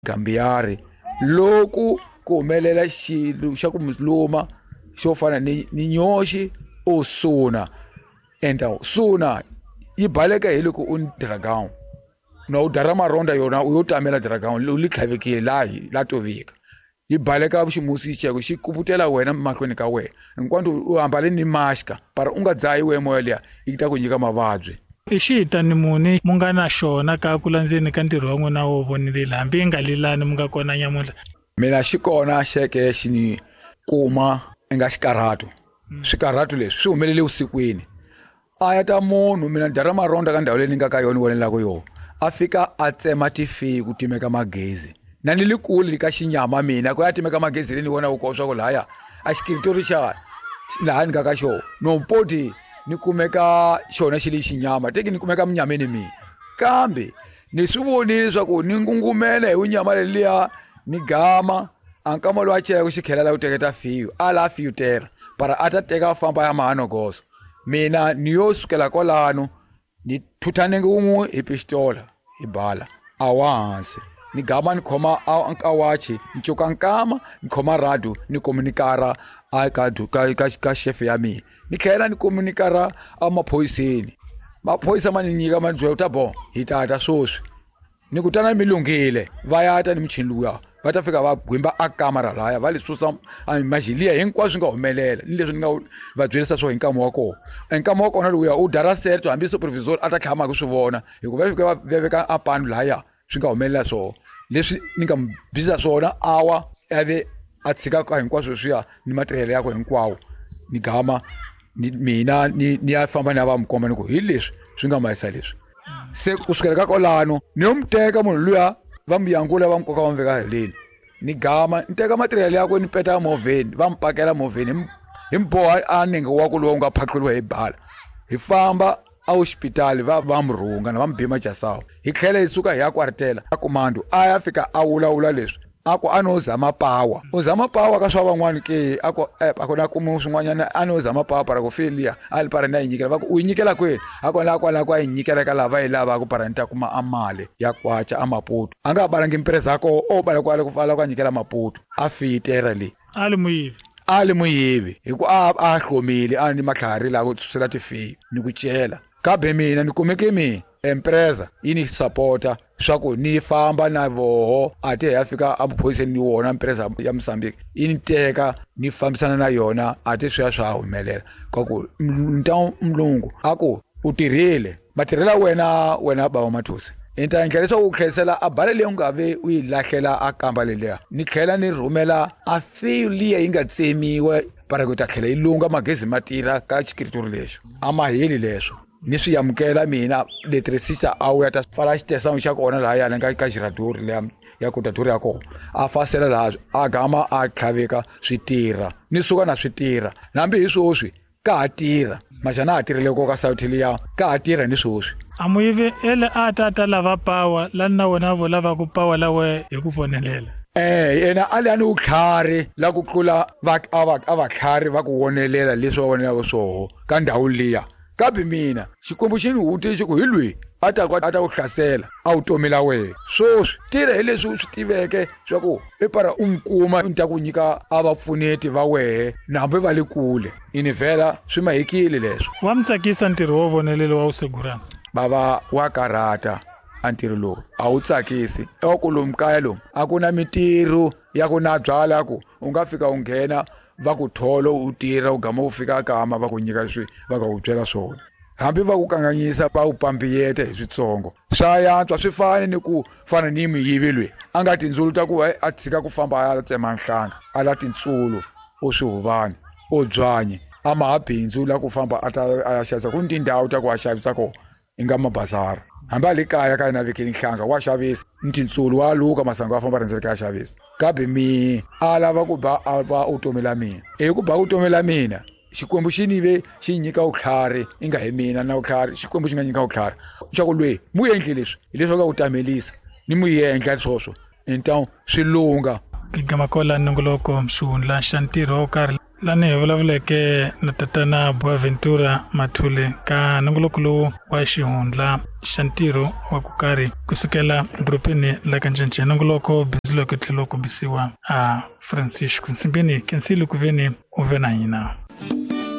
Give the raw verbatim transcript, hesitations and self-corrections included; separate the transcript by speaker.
Speaker 1: Gambiyari loko ku humelela xilo xa ku luma xo fana ni ni nyoxi o suna enta suna yi baleka hi loko u ni dragon na u dara maronda yona u yo tamela dragon u li tlhavekile la la tovika yi baleka ximusi xeko xi kubutela wena mahlweni ka wena hinkwanto u ambale ni maska para u nga dzahi we moya liya yi ta ku nyika mavabyi.
Speaker 2: I xitani muni mu nga na xona ka ku landzeni ka ntirho wa n'wina wo vonelela hambi yi nga lilani mu nga kona nyamuntlha?
Speaker 1: Mina xi kona xeke xi ni kuma nga xikarhato. Swikarhato leswi swi humelele vusikwini a ya ta munhu mina dara maronda ka ndhawu leyi ni nga ka yona ni vonelaka yona a fika a tsema tifeyi ku timeka magezi na ni le kule ka xinyama mina ku ya timeka magezi leyi ni vonaka ko swa ku lahaya a xikiritori xa laha ni nga ka xona no poti ni kumeka xona xi le xinyama teki ni kumeka munyameni mina kambe ni swi vonile leswaku ni ngungumela hi wunyama leliya ni gama a nkama lowu a celaka xikhela la ku teketa fiyo a la fiyutela para a ta teka a famba ya mahanogoso mina ni yo sukela kwalano ni thutha nenge wun'we hi pistola hi bala a wa hansi ni gama ni khoma a wachi ni cuka nkama ni khoma radio ni komunikara a ka ka ka ka chef ya mina ni tlhela ni komunikara a maphoyiseni maphoyisa ma ni nyika ma ni byela ku ta bo hi tata swoswi ni ku tana mi lunghile va ya ta ni michini luya va ta fika va gwimba a kamara laya va li susa majiliya hinkwaswo swi nga humelela ni leswi ni nga va byerisa swo hi nkama wa kona nkama wa kona lowuya u dara serto hambi supervisor a ta tlhama ku swi vona hikuva va fika va veka a panu laya swi nga humelela swona leswi ni nga mu byisa swona awa a ve a tshika ka hinkwaswo leswiya ni matirhelo yakwe hinkwawo ni gama ni mina ni ni ya famba ni ya va mu komba ni ku hi leswi swi nga mayisa leswi se kusukela ka kwalano ni yo mu teka munhu luya va mu yangula va mu koka va mu veka heleni ni gama ni teka matirhelo yakwe ni peta movheni va mu pakela movheni hi mu boha a nenge wa ku lowu nga phatluriwa hi bala hi famba a hospitali va va mu rhunga na va mu bima jasawu hi tlhela hi suka hi ya kwartela a kumando a ya fika a vulavula leswi a ku a no zama power u zama power ka swa van'wani ke a ku a ku na kumu swin'wanyana a no zama power para ku feliya a li para ni ya yi nyikela va ku u yi nyikela kwini a ku la kwala ku a yi nyikela ka lava yi lavaka para ni ta kuma a mali ya kwacha a Maputo a nga balangi mpresa ko o bala kwale ku fala ku a nyikela Maputo a fiyitera leyi
Speaker 2: a li muyivi
Speaker 1: a li muyivi hi ku a a hlomile a ni matlhari la ku susela tifeyi ni ku cela kambe mina ni kumeke mina empresa yi ni sapota swa ku ni famba na voho a te ya fika emaphoyiseni ni wona empresa ya Mozambique yi ni teka ni fambisana na yona a te swi ya swa humelela ka ku nta mulungu a ku u tirhile matirhela wena wena baba Mathusi ni ta endla leswaku u tlherisela a bala leyi u nga ve u yi lahlela a kamba leliya ni tlhela ni rhumela a fiyo liya yi nga tsemiwa para ku ta tlhela yi lunga magezi ma tirha ka xikiritori lexo a ma heli leswo ni swi amukela mina electricista a wu ya ta pfala xitesamu xa kona lahayani ka ka xiradori liya ya kotadori ya kona a fasela laha a gama a tlhaveka swi tirha ni suka na swi tirha hambi hi swoswi ka ha tirha maxana ha tirhile ko ka South liya ka ha tirha ni swoswi
Speaker 2: a muyivi ele a ta ta lava power la na wena vo lava ku power la we hi ku vonelela
Speaker 1: eh yena a li a ni vutlhari la ku tlula va a va a vatlhari va ku vonelela leswi va vonelaka swoho ka ndhawu liya kambe mina Xikwembu xi ni hute xi ku hi lweyi a ta ku a ta ku hlasela a wu tomela wena swoswi tirha hi leswi u swi tiveke swa ku i para u n'wi kuma ni ta ku nyika a vapfuneti va wehe na hambi va le kule i ni vhela swi mahekile leswo
Speaker 2: wa mi tsakisa ntirho wo vonelela wa vuseguransi
Speaker 1: bava wa karhata a ntirho lowu a wu tsakisi eku lomu kaya lomu a ku na mitirho ya ku na byala ku u nga fika u nghena va ku tholo u tirha u gama u fika kama va ku nyika leswi va nga ku byela swona hambi va ku kanganyisa va ku pambiyeta hi switsongo swa yantswa swi fani ni ku fana ni muyivi lweyi a nga tindzulu ta ku a tshika ku famba a ya tsema nhlanga a la tintsulu o swihuvani o byanyi a ma ha bindzu la ku famba a ta a ya xavisa ku ni tindhawu ta ku a xavisa kona i nga mabazara hambi a le kaya ka yena vekeni nhlanga wa xavisa ni tintsulu wa luka masangu a famba rhendzeleka a xavisa kambe mi a lava ku ba a ba u tomela mina hi ku ba u tomela mina Xikwembu xi ni ve xi nyika vutlhari i nga hi mina na vutlhari Xikwembu xi nga nyika vutlhari xa ku lweyi mu endli leswi hi leswi va nga ku tamelisa ni mu endla swoswo intawu swi lunga
Speaker 2: Gigamakola nongoloko xihundla xa ntirho wo karhi Lani hi vulavuleke na tatana Boaventura Mathule ka nongoloko lowu wa xihundla xa ntirho wa ku karhi kusukela dorobeni la ka Ncencce. Nongoloko bindzu loko tlhela wu kombisiwa a Francisco Nsimbini. Kensile ku veni u ve na hina.